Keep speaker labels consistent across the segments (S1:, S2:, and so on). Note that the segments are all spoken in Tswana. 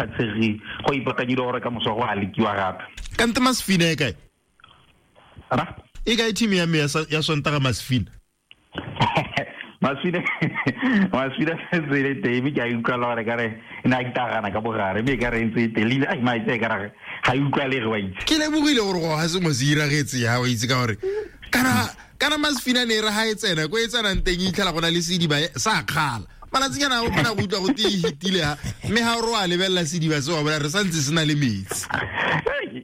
S1: Tshegi go ipakanyile gore ka moso go a lekiwa gape.
S2: Kante Masfina e kae?
S1: Ra?
S2: E kae team ya me ya Sontaga Masfina?
S1: Masfina Masfina sentse e le teng, mme ke a utlwala gore kare e ne a itagana ka bogare, mme e ka re ntse e teng leina ai maitse e kare ga e utlwalege, wa itse.
S2: Ke lebogile gore go ga sengwe se iragetse ya, wa itse, ka gore kana Masfina ne e re ga e tsena ko e tsenang teng e itlhela go na le sediba sa kgala malatsinyana o kgona go utlwa go te e hitile ha, mme ga o re wa lebelela sediba se wa bona re santse se na le metsi.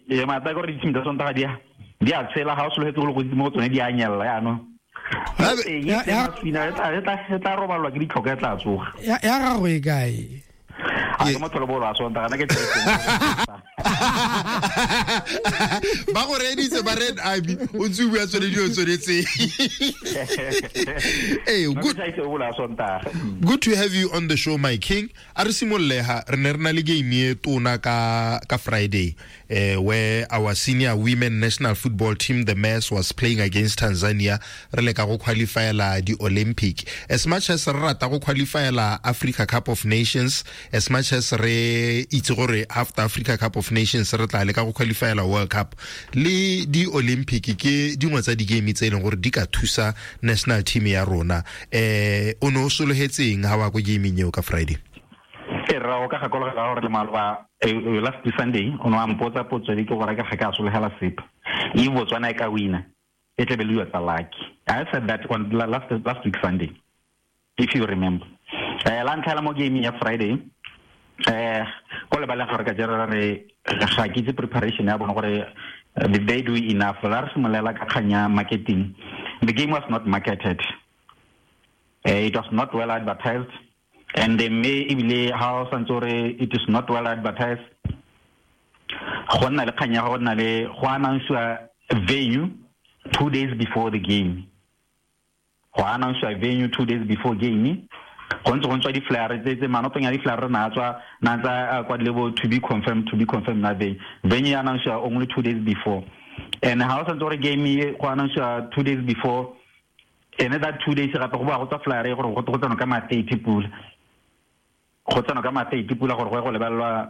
S1: E mata gore di-team tsa Sontaga di a tshela, ga o sologetse go le gontsi mo go tsone, di a nyelela yaanong. E tla robalwa ke ditlhoka, e tla tsoga.
S3: Ya gago e kae?
S1: A ke motho le bolo a Sontaga na ke
S2: ba go reeditse ba Red Army, o ntse o bua tsone dilo tsone tse. Ee, good, good to have you on the show, my king. A re simolole ha re ne re na le game e tona ka Friday, where our senior women national football team, the Mass, was playing against Tanzania, re le ka go qualifyela di Olympic. As much as re rata go qualifyela Africa Cup of Nations, as much as re itse gore after Africa Cup of Nations re tla le ka go qualifyela World Cup le di Olympic, ke dingwe tsa di-game tse e leng gore di ka thusa national team ya rona. O ne o sologetseng ha wa ko gaming eo ka Friday?
S1: E rra, o ka gakologela gore le maloba, last Sunday, o ne wa mpotsa potso e ke gore ke ga ka sologela sepe e Botswana e ka wina e tlebe le dilo tsa lucky. I said that on last week Sunday, if you remember. La ntlha la mo game ya Friday, ko lebaleng gore ka jera re ga ke itse preparation ya bona gore did they do enough. La re simolola ka kgang ya marketing. The game was not marketed, it was not well advertised, and mme ebile ha o santse gore it is not well advertised, go nna le kgang ya go nna le go announcewa venue 2 days before the game. Go announcewa venue 2 days before game, go ntse go ntswa di-flyer tse manotong ya di-flyer na tswa na tsa kwa le bo "to be confirmed, to be confirmed" na venue ya announcewa only 2 days before. And ha o santse gore game e go announcewa 2 days before, ene that 2 days gape go boa go tswa flyer e gore go tsenwa ka ma-30 pula, go tsenwa ka ma-30 pula gore go ye go lebelelwa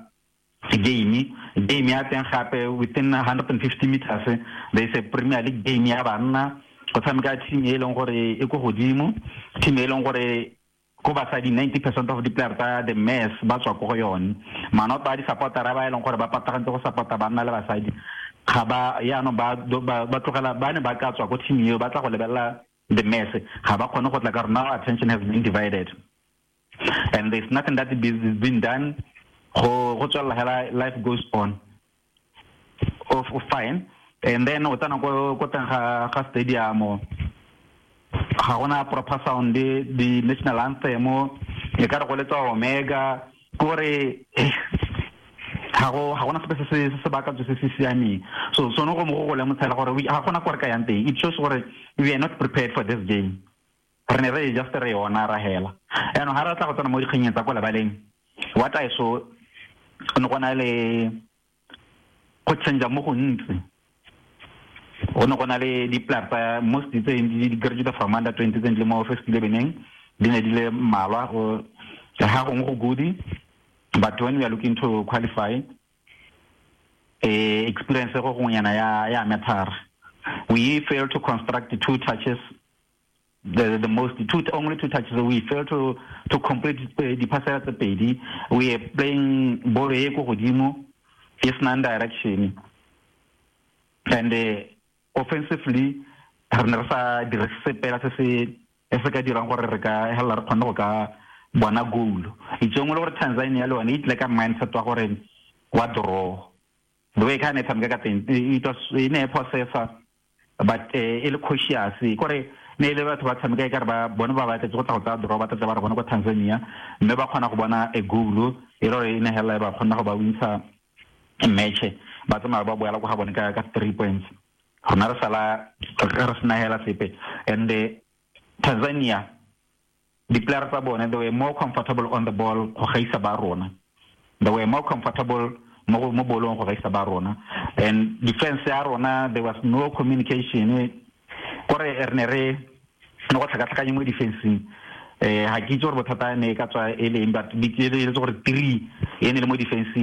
S1: game. Game ya teng gape, within 150 meters there is a Premier League game ya banna, go tshameka team e leng gore e ko godimo, team e leng gore ko basadi 90% of di-player tsa the Mass ba tswa ko go yone. Manoto a di-supportera ba e leng gore ba patagantse go supporta banna le basadi ga ba yaanong ba tlogela ba ne ba ka tswa ko team eo ba tla go lebelela the Mass, ga ba kgone go tla ka gore now attention has been divided and there's nothing that is been done. Go tswelela hela, life goes on. Of fine, and then o tsena ko teng ga stadium, ga gona proper sound, di national anthem e ka re go letsa Omega, kore ga gona sepe se baakantswe se se siameng. So sone go mo go lemotshela gore ga gona ko re ka yang teng. It shows gore we are not prepared for this game. Re ne re just re yona ra hela. Yaanong ga re tla go tsena mo dikganyeng tsa ko lebaleng, what I saw, go ne go na le go change mo gontsi. Go ne go na le di-player tsa most tse di graduate from under 20 tse di le mo first eleveneng, di ne di le mmalwa. Ga gongwe go good, but when we are looking to qualify, experience go gongwenyana ya matter. We failed to construct two touches, the most two, only two touches. We failed to complete di-pasela tse pedi. We are playing ball e ko godimo e senang direction, and offensively re ne re sa dire sepela se ka dirang gore re ka helela re kgone go ka bona goal. Itsong le gore Tanzania le yone e tle ka mindset wa gore wa draw, the way ka ne tshameka ka teng, it was e ne e possessa but e le cautious, kore ne e le batho ba tshameka e kare ba bone ba batletse go tla go tsaya draw, ba tlatse ba re bone ko Tanzania, mme ba kgona go bona a goal e le gore e ne hela ba kgona go ba wintsha match, ba tsamaya ba boela ko ga bone ka 3 points. Rona re sala re sena hela sepe. And Tanzania, di-player tsa bone, they were more comfortable on the ball go gaisa ba rona. They were more comfortable mo bolong go gaisa ba rona. And defense ya rona, there was no communication, kore re ne re ne go tlhakatlhakanye mo defenseng. Ga ke itse gore bothata ne e ka tswa e leng, but e le gore 3 e ne le mo defense.